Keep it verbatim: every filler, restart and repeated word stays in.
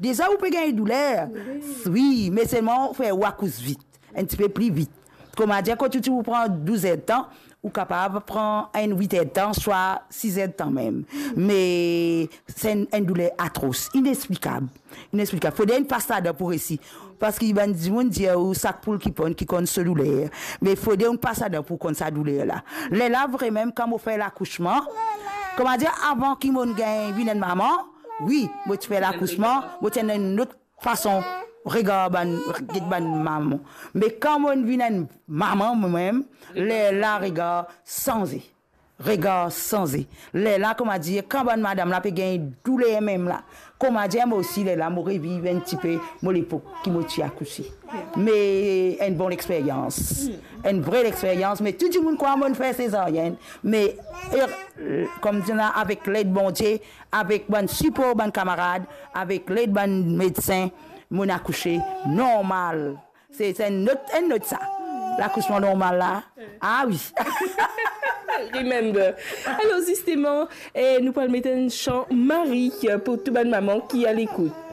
Deza ou pe gagn douler. Wi, me selman ou fer ou akous vit, enn tipe pli vit. Kouma dir, kot ou ti pou pran douz er de tan, ou kapav pran enn wit er de tan, swa sis er de tan mem. Me se enn, enn douler atros, inexplikab. Inexplikab. Fode inn pas ladan pou resi. Parski bann dimoun dir ou sak poul ki ponn ki konn so douler. Me fode ou pas ladan pou konn sa douler la. Lerla vremem, kan mo fer lakousman, kouma dir, avan ki mo gagn vinn enn mama, wi, mo ti fer lakousman, mo ti ena enn lot fason regar bann, get bann mama. Me kan mo vinn enn mama momem, lerla regar sanze. Regar sanze. Lerla, kouma dir, kan bann madam la pe gagn douler mem la, kouma dir, mo osi lerla mo reviv enn tipe mo lepok ki mo ti akouse. Me enn bon lexperyans. Enn vre lexperyans, me tou dimoun krwar mo fer sezaryenn. Me, er, kouma dir la, avek led Bondie, avek bann sipor bann kamarad, avek led bann medsin, mo akouse normal. Se, se enn lot, enn lot sa. Lakousman normal la. Ah wi. Remember. Alor, zisteman, eh, nou pou al met enn san Marie pou tou bann mama ki alekout.